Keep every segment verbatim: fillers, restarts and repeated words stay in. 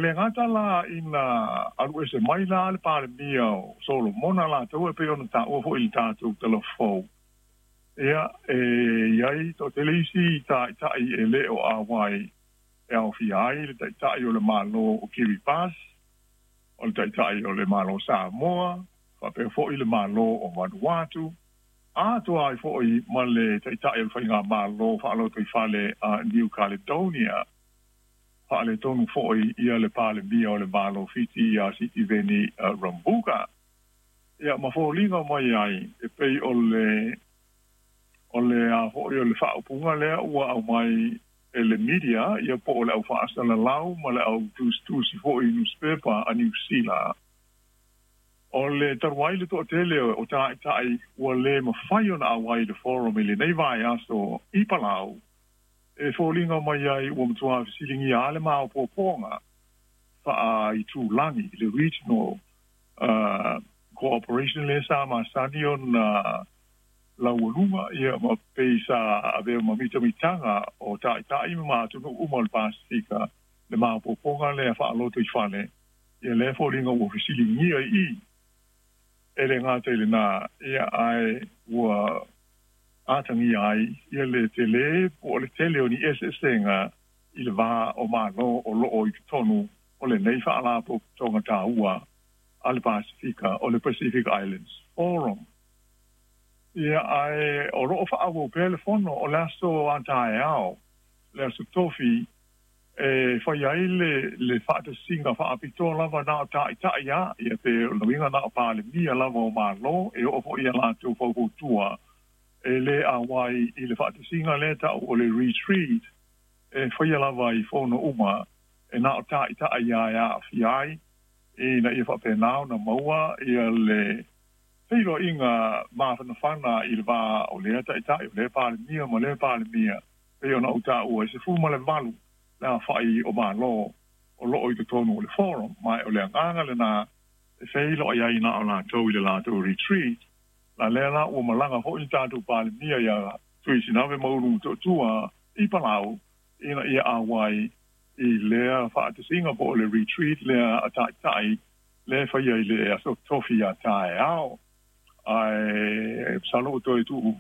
le gata la ina alu ese mai la le Palemia o Solomona latou e pei ona taua foʻi i le tatou talafou. Ia e iai toʻatele isi taʻitaʻi e lē o ʻauai e aofia ai le taʻitaʻi o le Mālō o Kiribati, o le taʻitaʻi o le Mālō Samoa, faapea foʻi le Mālō o Vanuatu, atoa ai foʻi ma le taʻitaʻi o le faigamālō faalotoifale a New Caledonia. Faaletonu foʻi ia le Palemia o le Mālō Fiti iā Sitiveni Rabuka. Ia ma foliga mai ai e pei o le o le a foʻi o le faaupuga lea ua aumai e le media ia po o le au faasalalau ma le au tusitusi foʻi newspaper a Niu Sila. O le taluai le toʻatele o taʻitaʻi ua lē mafai ona ʻauai le forum i lenei vaiaso i Palau, e foliga mai ai ua matuā fesiligia a le maopoopoga faaitulagi, le regional uh, cooperation le sa masani ona laualuga ia ma pei sa avea ma mitamitaga o taʻitaʻi ma atunuu uma o le Pasifika, le maopoopoga lea faaloto i fale. Ia lea foliga ua fesiligia i i e le gata i lenā ia ae ua atagia ai ia le telē po o le tele o ni eseesega i le vā o Mālō o loo i totonu o lenei faalapotopotoga taua a le Pasifika o le Pacific Islands Forum. Ia ae o loo faaauau pea le fono o le aso a taeao, le aso Tofi, e fai ai le le faatasiga faapitoa lava na o taʻitaʻi a ia pe o lauiga na o Palemia lava o Mālō e oo foʻi ia latou faufautua e lē auai i le faatasiga lea taʻu o le retreat e faia lava i fono uma e na o taʻitaʻi ia e aafia ai ina ia faapenā ona maua ia le feiloaiga mafanafana i le vā o lea taʻitaʻi o lea Palemia ma lea Palemia pei ona ou taua e sefulu ma le valu le afaʻi o Mālō o loo i totonu o le forum ma o le agaga lenā e feiloai ai na o latou i le latou retreat. La lea la ua malaga foʻi le tatou Palemia ia Tuisinave Maulu Motootua i Palau ina ia auai i lea faatasiga po o le retreat lea a taʻitaʻi le faia i le aso Tofi a taeao. Ae masalo ua toe tuu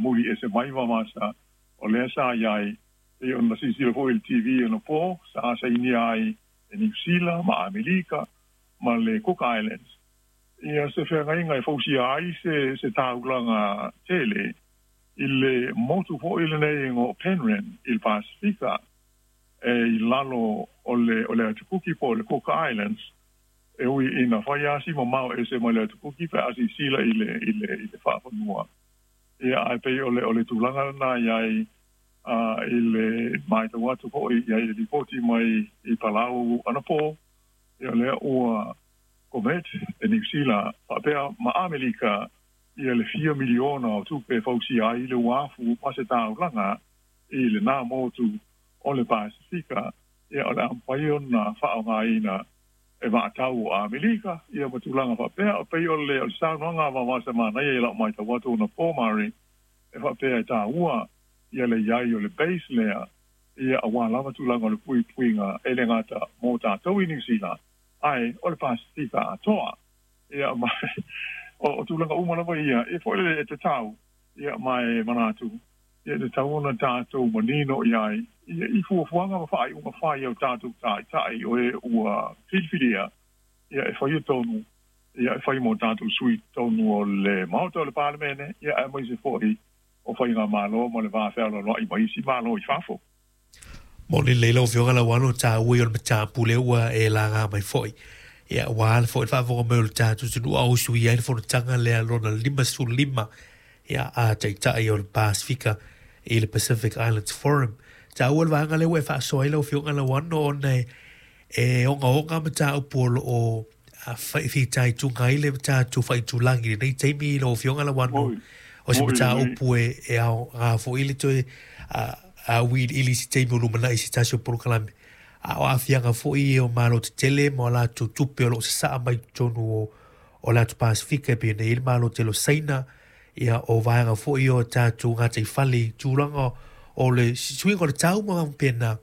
muli ese mai Vaovaosa o lea sa iai e ona silasila foʻi i le T V ona po sa sainia ai e Niu Sila ma Amerika ma le Cook Islands ia se feagaiga e fausia ai se se taulaga tele i le motu foʻi lenei o Penrhyn i le Pasifika e i lalo o le o le Atukuki po o le Cook Islands e ui ina fai asi mamao ese mai le Atukuki pe a silasila i le i le i le faafanua. Ia ae pei o le o le tulaga lenā iai a i le matau atu foʻi iai le lipoti mai i Palau anapo. Ia lea ua commit e Niu Sila faapea ma Amerika ia le fia miliona o tupe e fausia ai le uafu ma se taulaga i lenā motu o le Pasifika. Ia o le a mafai ona faaaogāina e vaatau o Amerika ia ma tulaga faapea. O pei o le o le saunoaga a Vaovaosa Manaia i lau matau atu ona po mari e faapea e taua ia le iai o le base lea ia auā lava tulaga o le puipuiga e le gata mo tatou i Niu Sila ae o le Pasifika atoa. Ia ma o, o tulaga uma lava ia e foʻi le e tatau ia ma e manatu ia e tatau ona tatou manino iai ia i fuafuaga ma faaiuga fai au tatou taʻitaʻi o e ua filifilia ia e faia tonu ia e fai mo tatou sui tonu o le Maota o le Palemene ia aemaise foʻi o faigamālō ma le va fealoaloaʻi ma isi Mālō i fafo. Mo le leila o fioga la wano ta ui o le matapu le ua e laga mai foi. Ia ua ala foi le faafofoga mai o le tatou atunuu a o usuia ai le fonotaga lea lona lima sefulu lima ia a taʻitaʻi o le Pasifika i le Pacific Islands Forum. Taua le vaega lea ua e faasoa ai lau afioga Lauano ona e e ogaoga mataupu o loo fitaituga ai le tatou faaitulagi lenei taimi lau afioga Lauano. O se mataupu e e aoga foʻi le toe a auiliili i se taimi o lumanai i se tasi o polokalame. A o aafiaga foʻi o Malo tetele ma o latou tupe o loo sasaa mai totonu o o le atu Pasifika e pei ona i ai le Malo tele o Saina ia o vaega foʻi o tatou gataifale i tulaga o le suiga o le tau ma faapena.